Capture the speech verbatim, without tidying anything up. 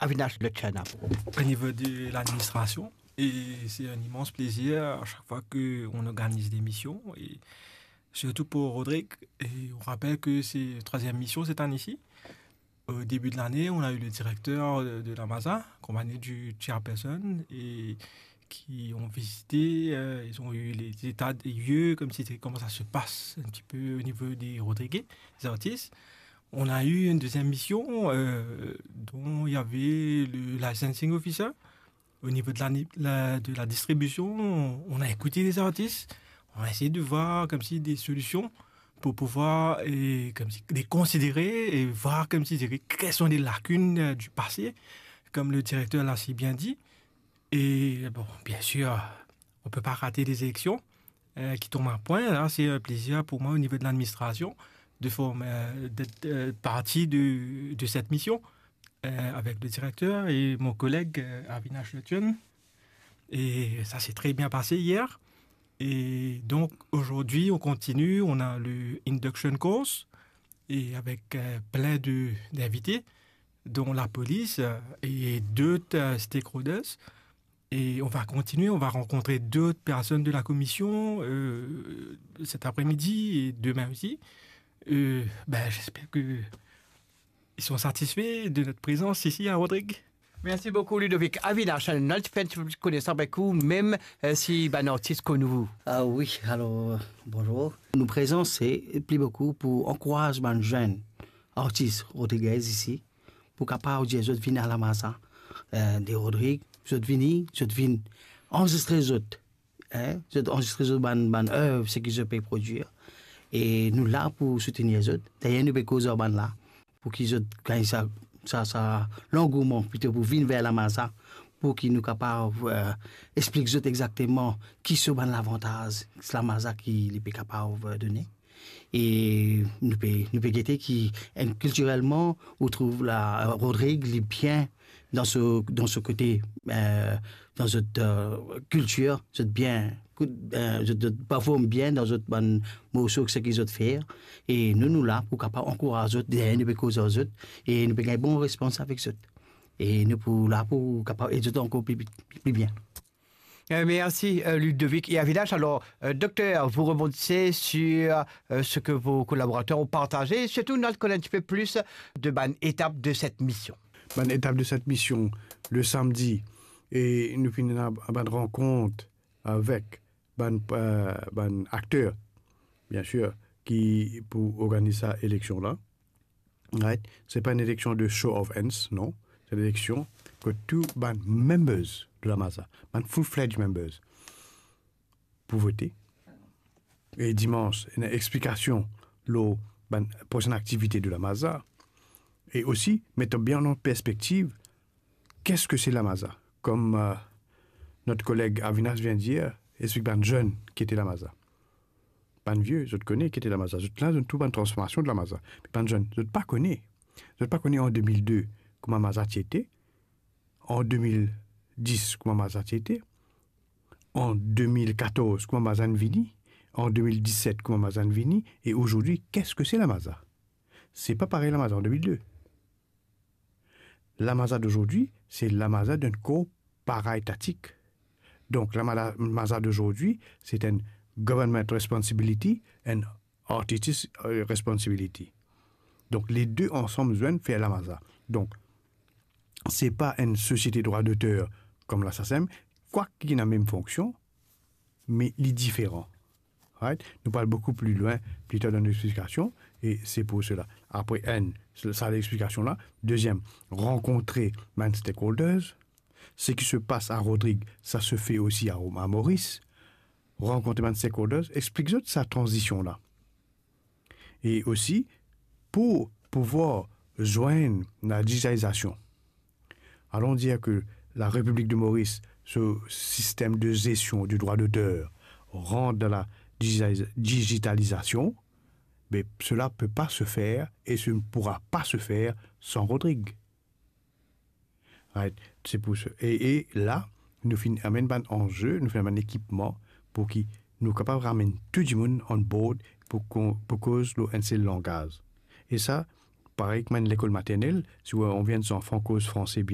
Avinash Lutchena. Au niveau de l'administration, et c'est un immense plaisir à chaque fois qu'on organise des missions, et surtout pour Rodrigue. Et on rappelle que c'est troisième mission cette année-ci. Au début de l'année, on a eu le directeur de, de la Maza, accompagné du chairperson, et qui ont visité, euh, ils ont eu les états des lieux, comme c'était, comment ça se passe un petit peu au niveau des Rodriguais, des artistes. On a eu une deuxième mission, euh, dont il y avait le licensing officer. Au niveau de la, la- de la distribution, on a écouté les artistes, on a essayé de voir comme si des solutions pour pouvoir et comme si, les considérer et voir comme si quelles sont les lacunes euh, du passé, comme le directeur l'a si bien dit. Et bon, bien sûr, on peut pas rater les élections euh, qui tombent à point. Là, c'est un plaisir pour moi au niveau de l'administration de former, euh, d'être euh, partie de, de cette mission euh, avec le directeur et mon collègue euh, Avinash Lutchena. Et ça s'est très bien passé hier. Et donc aujourd'hui, on continue. On a le induction course et avec euh, plein de d'invités, dont la police euh, et d'autres euh, stakeholders. Et on va continuer, on va rencontrer d'autres personnes de la commission euh, cet après-midi et demain aussi. Euh, ben, j'espère que ils sont satisfaits de notre présence ici à Rodrigues. Merci beaucoup, Ludovic. Avinash, nou ti fer enn ti pe plis konesans avek ou, mem euh, si bann artis konn ou. Ah oui, alors, euh, bonjour. Nos présences, c'est plus beaucoup pour encourager les jeunes artistes rodriguais ici, pour capable dire, zot vini à la Maza euh, de Rodrigues, zot vini, zot vini enregistrer zot, hein, zot enregistrer zot bann, bann œuvre, ce qu'ils peuvent produire. Et nous là pour soutenir zot. D'ailleurs, nous pe koz ar bann la, pour ki zot gagn sa, sa, sa langouman plito pour vinn ver la Maza, pour ki nou kapav euh, explik zot exactement ki so bann lavantaz la Maza ki li pe kapav euh, donner. E nou pe, nou pe gete ki enn, kiltirelman, ou trouv la, Rodrigues, li bien dan so, dan so kote, euh, dan zot euh, kiltir, zot bien, euh, zot, zot perform bien dan zot bann morso, seki zot fer. E nou, nou la pou kapav ankouraz zot, deryer nou pe koz ar zot, e nou pe gagn bon respons avek zot. E nou pou la pou kapav ed zot ankor pli, pli, pli bien. Euh, merci euh, Ludovic et Avinash. Alors, euh, docteur, vous rebondissez sur euh, ce que vos collaborateurs ont partagé, et surtout, nou al konn enn ti pe plis de bann etap de cette mission. Bann etap de cette mission, le samedi, e nou finn ena bann rankont avek bann, euh, bann akter, bien sûr, ki pou organiz sa eleksion la. Right? Se pa enn eleksion de show of hands, non. Se enn eleksion kot tou bann members de la Maza, bann full-fledged members, pou vote. E dimans, ena explikasion lor bann prosenn aktivite de la Maza. E osi, met bien an perspektiv, qu'est-ce que c'est la Maza? Comme euh, notre collègue Avinash vient de dire, explik bann zenn ki ete la Maza. Bann vie, zot kone ki ete la Maza. Zot la, zot trouv bann transformasion de la Maza. Me bann zenn, zot pa kone. Zot pa kone an de mil de kouma Maza ti ete, an de mil dis kouma Maza ti ete, an de mil katorz kouma Maza inn vini, an de mil diset kouma Maza inn vini, e azordi, qu'est-ce que c'est la Maza? Se pa parey la Maza an de mil de. La Maza d'aujourd'hui, c'est la Maza d'un corps paraétatique. Donc, la Maza, Maza d'aujourd'hui, c'est un government responsibility and artistic euh, responsibility. Donc, les deux ensemble viennent faire la Maza. Donc, c'est pas une société droit d'auteur comme la SACEM, quoique il a la même fonction, mais il est différent. Right? Nou pou al boukou pli lwin, pli tar dan lexplikasion, e se pou sela. Apre enn, sa lexplikasion la. Deziem, rankontre bann stakeholders. Ce qui se passe à Rodrigues, ça se fait aussi à, à Maurice. Rankontre bann stakeholders, explik zot sa tranzision la. E osi, pou pouvwar zwenn la dijitalizasion. Allons dire que la République de Maurice, ce système de gestion du droit d'auteur, rentre dans la digi- digitalisation, mais cela ne peut pas se faire et ce ne pourra pas se faire sans Rodrigue. Right? Se pou sa. E, e la, nou finn amenn bann anze, nou finn amenn ekipman pou ki nou kapav ramenn tou dimoun on board pou, pou koz lor enn sel langaz. E sa, Parey kouma enn lekol maternel, si ou, ou enn zanfan koz franse bien,